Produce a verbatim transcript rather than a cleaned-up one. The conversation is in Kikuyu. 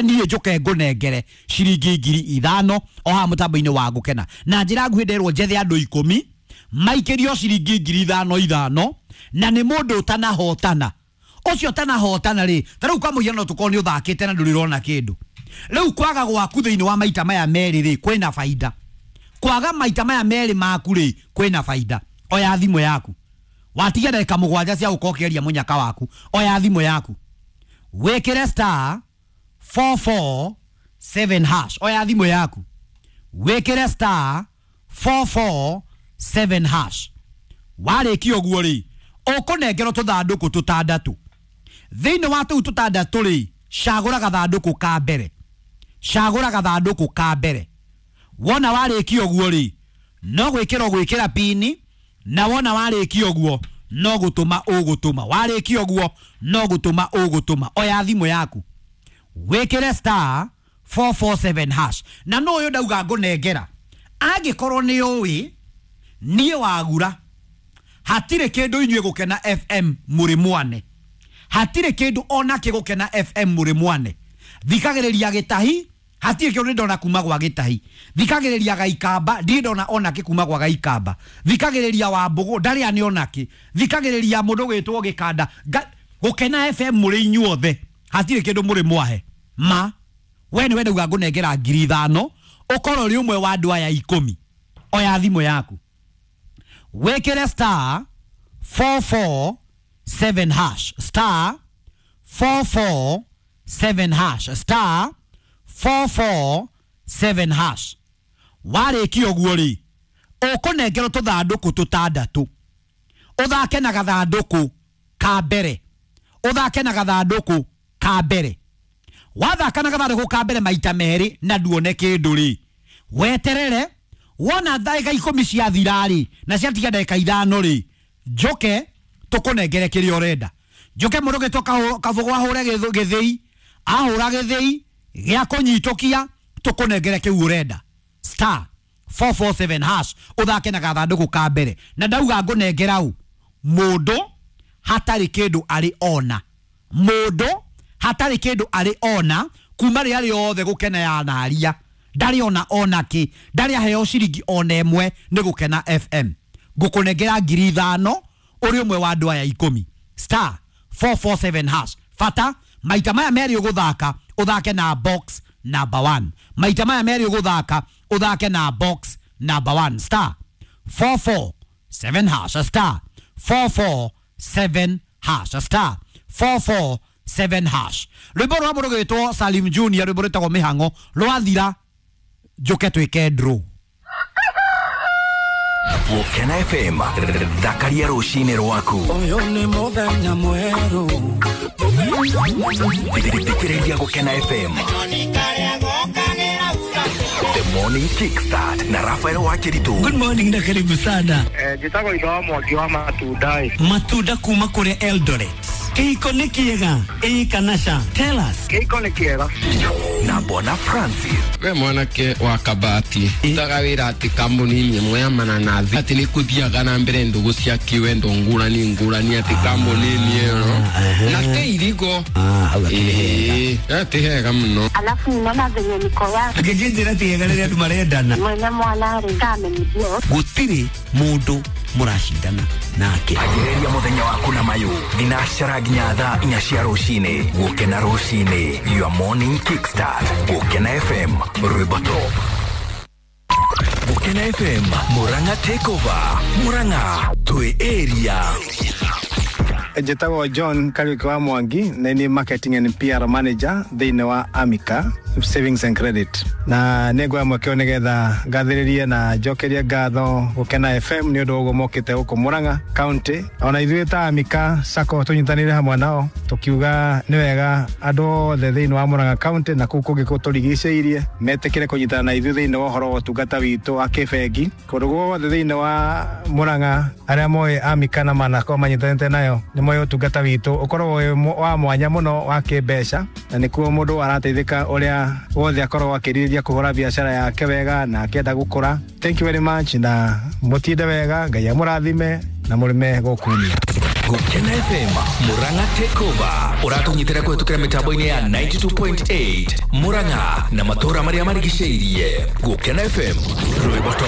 Weterere niĩ njoke ngũnengere ciringi ngiri ithano o haha mũtambo-inĩ wa Gũkena. Na njĩra nguhĩ nderwo njethe andũ ikũmi maikĩrio ciringi ngiri ithano ithano, na nĩ mũndũ ũtanahotana. Ũcio ũtanahotana rĩ, ta rĩu kwa mũhiano tũkorwo nĩ ũthakĩte na ndũrĩ ũrona kĩndũ. Rĩu kwaga gwaku thĩinĩ wa maita maya merĩ rĩ, kwĩna baida. Kwaga maita maya merĩ maku rĩ, kwĩna baida. Oya thimũ yaku. Watiga ndagĩka mũgwanja cia gũkorwo ũkĩaria mũnyaka waku. Oya thimũ yaku. Wĩkĩre star four four seven hash. Oya thimũ yaku. Wĩkĩre star four four seven hash. Warĩkia ũguo rĩ, ũkũnengerwo tũthandũkũ tũtandatũ. Thĩinĩ wa tũu tũtandatũ rĩ, cagũra gathandũkũ ka mbere. Cagũra gathandũkũ ka mbere. Wona warĩkia ũguo rĩ, no gwĩkĩra ũgwĩkĩra pini, na wona warĩkia ũguo no gũtũma ũgũtũma. Warĩkia ũguo no gũtũma ũgũtũma. Oya thimũ yaku. Wĩkĩre star four four seven hash. Na no ũyũ ndauga ngũnengera. Angĩkorwo nĩ ũĩ, niĩ wagura, hatirĩ kĩndũ inyuĩ Gũkena F M mũrĩ mwane. Hatirĩ kĩndũ ona kĩ Gũkena F M mũrĩ mwane. Thikagĩrĩria gĩtahi, hatirĩ kĩndũ ndona kuma gwa gĩtahi. Thikagĩrĩria gaikamba, ndirĩ ndona ona kĩ kuma gwa gaikamba. Thikagĩrĩria Wambũgũ, ndarĩ ani ona kĩ. Thikagĩrĩria mũndũ gwĩtwo Gĩkanda. Gũkena F M mũrĩ inyuothe, hatirĩ kĩndũ mũrĩ mwahe. Ma, we nĩwe ndauga ngũnengera ngiri ithano, ũkorwo ũrĩ ũmwe wa andũ aya ikũmi. Oya thimũ yaku. Wĩkĩre star four four seven hash. Star four four seven hash. Star four four seven hash. Warĩkia ũguo rĩ, ũkũnengerwo tũthandũkũ tũtandatũ. Ũthake na gathandũkũ ka mbere. Ũthake na gathandũkũ ka mbere. Wathaka na gathandũkũ ka mbere maita merĩ na nduone kĩndũ rĩ, weterere wona ndagĩka ikũmi ciathira rĩ, na ciatiga ndagĩka ithano rĩ, njoke tũkũnengere kĩrĩa ũrenda. Njoke mũndũ ũgĩtwo Kabũgũ ahũre gĩthĩi, ahũra gĩthĩi gĩa kũnyitũkia, tũkũnengere kĩu ũrenda. Star four four seven hash, ũthake na gathandũkũ ka mbere. Na ndauga ngũnengera ũ, mũndũ hatarĩ kĩndũ arĩ ona. Mũndũ hatarĩ kĩndũ arĩ ona, kuma rĩrĩa rĩothe Gũkena yanaria, ndarĩ ona ona kĩ, ndarĩ aheo ciringi ona ĩmwe nĩ Gũkena F M. Ngũkũnengera ngiri ithano ũrĩ ũmwe wa andũ aya ikũmi. Star four four seven hash. Bata maita maya merĩ ũgũthaka, ũthake na box number one. Maita maya merĩ ũgũthaka, ũthake na box number one. Star four four seven hash. Star four four seven hash. Star four four seven hash. Rwĩmbo rwa mũndũ gwĩtwo Salim Junior, rwĩmbo rwĩtagwo Mĩhang'o, rwathira njoke twĩke draw. Gũkena F M, thakaria rũcinĩ rwaku. Ũyũ nĩ mũthenya mwerũ. Thikĩrĩria Gũkena F M. The Morning Kickstart na Rafael Wakiritu. Good morning na karibu sana. Eh, njĩtagwo Itho wa Mwangi wa matunda. Matunda kuma kũrĩa Eldoret. Kĩhiko nĩ kĩega? Ĩĩ kana ca? Tell us. Kĩhiko nĩ kĩega. Na Bwana Francis. We mwanake wa Kabati, utaga wĩra atĩ kambuni-inĩ ĩmwe ya mananathi, atĩ nĩ kũthiaga na mbere ndũgũ cia kĩwendo ngũrani ngũrani atĩ kambuni-inĩ ĩyo. Na te irigo. Ĩĩ, ti hega mũno. Alafu ninaona venye niko yake. Ngĩnjĩra ti hega rĩrĩa andũ marendana. Mwene mwana rĩ, kamenyithio. Gũtirĩ mũndũ mũracindana nake. Anjĩrĩria mũthenya waku na mayũ thinacara nginya thaa inya cia rũcinĩ. Gũkena rũcinĩ, your morning kickstart. Gũkena F M, rwĩmbo top. Gũkena F M, Murang'a takeover. Murang'a twĩ area. Njĩtagwo John Kariuki wa Mwangi, na ni marketing and P R manager thĩinĩ wa Amica Savings and Credit. Na nĩ nguoya mweke ũyũ nĩgetha ngathĩrĩrie na njokerie ngatho Gũkena F M nĩ ũndũ wa ũguo mokĩte gũkũ Murang'a County. Ona ithuĩ ta Amica Sacco tũnyitanĩire hamwe nao tũkiuga nĩ wega andũ othe thĩinĩ wa Murang'a County na kũu kũngĩ kũtũrigicĩirie metĩkĩre kũnyitana na ithuĩ thĩinĩ wa ũhoro wa ũtungata witũ wa kĩbengi. Kũndũ guothe thĩinĩ wa Murang'a arĩa moĩ Amica na manakorwo manyitanĩte nayo nĩ moĩ ũtungata witũ ũkoragwo wĩ wa mwanya mũno wa kĩmbeca, na nĩkuo mũndũ arateithĩka ũrĩa wothe akoragwo akĩrirĩria kũhũra biacara yake wega na akĩenda gũkũra. Thank you very much, na mũtinde wega, Ngai amũrathime na mũrĩme gũkunia. Gukena F M Murang'a Takeover ũratũnyitĩra kũhetũkĩra mĩtambo-inĩ ya ninety-two point eight Murang'a na matũũra marĩa marigicĩirie. Gukena F M rwĩmbo top.